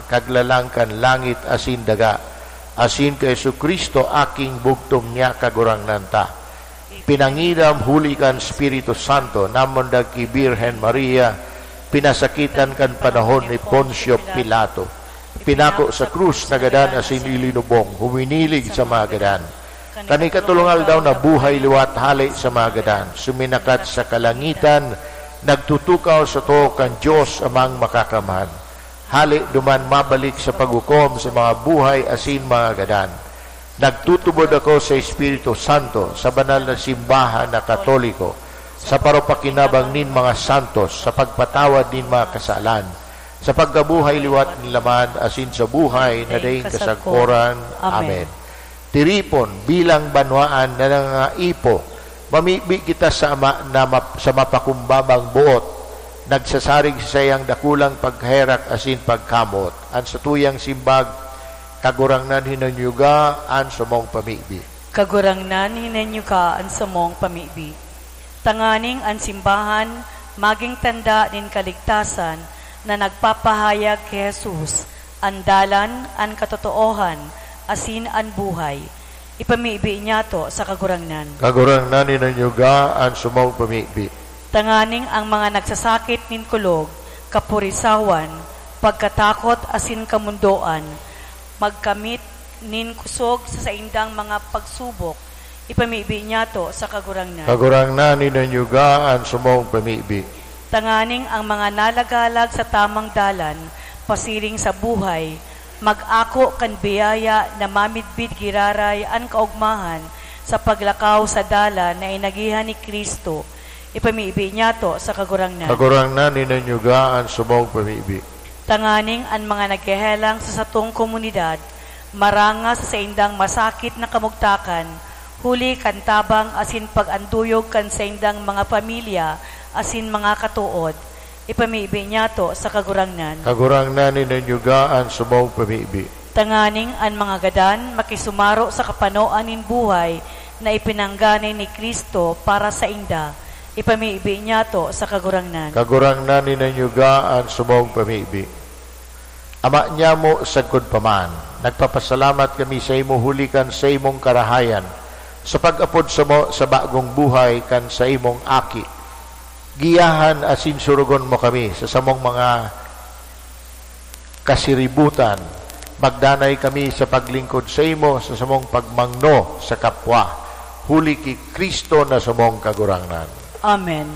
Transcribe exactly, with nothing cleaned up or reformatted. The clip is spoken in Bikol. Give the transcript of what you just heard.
Kaglalang kan langit asin daga, asin ki Jesu-Cristo, aking bugtong niya, Kagurangnan ta. Pinangiram huli kan Espiritu Santo, namundag ki Birhen Maria, pinasakitan kan panahon ni Poncio Pilato. Pinako sa krus, nagadan asin ilinubong, huminilig sa mga gadan. Kan ikatolong aldaw nabuhay liwat hale sa mga gadan, suminakat sa kalangitan, nagtutukaw sa too kan Dios Amang Makakamhan. Hale duman mabalik sa paghukom sa mga buhay asin mga gadan. Nagtutubod ako sa Espiritu Santo, sa banal na simbahan na Katoliko, sa paropakinabang nin mga santos, sa pagpatawad nin mga kasalan, sa pagkabuhay liwat nin laman, asin sa buhay na daing kasagkoran. Amen. Tiripon, bilang banwaan na nangangaipo, mamibi kita sa Ama na map-, sa mapakumbabang boot, nagsasarig sa saiyang dakulang pagherak asin pagkamoot. An satuyang simbag, Kagurangnan, hinanyuga an samong pamibi. Kagurangnan, hinanyuga an samong pamibi. Tanganing an simbahan magin tanda nin kaligtasan na nagpapahayag ki Jesus, an dalan, an katotoohan, asin an buhay. Ipamibi niyato sa Kagurangnan. Kagurangnan, hinanyuga an samong pamibi. Tanganing an mga nagsasakit nin kulog, kapurisawan, pagkatakot asin kamondoan, magkamit nin kusog sa saindang mga pagsubok, ipamibi niyato sa Kagurangnan. Kagurangnan, hinanyuga an samong pamibi. Tanganing an mga nalagalag sa tamang dalan pasiring sa buhay, mag-ako kan biyaya na mamidbid giraray an kaogmahan sa paglakaw sa dalan na inagihan ni Cristo, ipamibi niyato sa Kagurangnan. Kagurangnan, hinanyuga an samong pamibi. Tanganing an mga naghehelang sa satong komunidad maranga sa saindang masakit na kamugtakan, huli kan tabang asin pag-anduyog kan saindang mga pamilya asin mga katood, ipamibi niyato sa Kagurangnan. Kagurangnan, hinanyuga an samong pamibi. Tanganing an mga gadan makisumaro sa kapanoan nin buhay na ipinanggana ni Cristo para sainda, ipamibi niyato sa Kagurangnan. Kagurangnan, hinanyuga an samong pamibi. Ama nyamo sagkod pa man, nagpapasalamat kami saimo huli kan saimong karahayan, sa pag-apod samo sa bagong buhay kan saimong Aki. Giyahan asin surugon mo kami sa samong mga kasiributan. Magdanay kami sa paglingkod saimo sa samong pagmangno sa kapwa, huli ki Cristo na samong Kagurangnan. Amen.